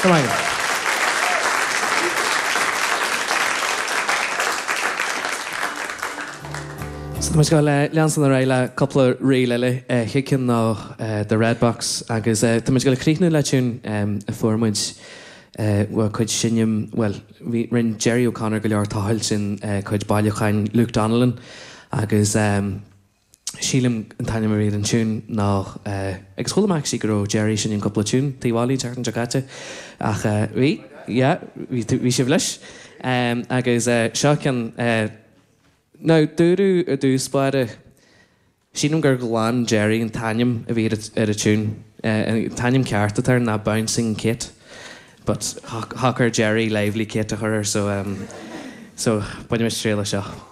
Go raibh maith agat. So tá muid ag gabháil leanstan ar aghaidh le cúpla ríl eile, chéad ceann ná The Red Box agus tá muid ag gabháil a chríochnú le tiún a fuair muid ó cuid seinm, bhuel, bhí, rinne Gerry O'Connor go leor tochailt in cuid bailiúcháin Luke Donnellan agus sílim an t-ainm a bhí ar an tiún ná, agus chuala mé actually go raibh Gerry ag seinm cúpla tiún taobh bhaile an tseachtain seo caite ach bhí, yeah, bhí, bhí sibh leis. Agus seo ceann, now dúradh i dtús báire, Sílim gur ghlan Gerry an t-ainm a bhí ar an tiún. An t-ainm ceart atá air ná Bouncing Kate but shocair Gerry Lively Kate a chur air so so bainimis triail as seo.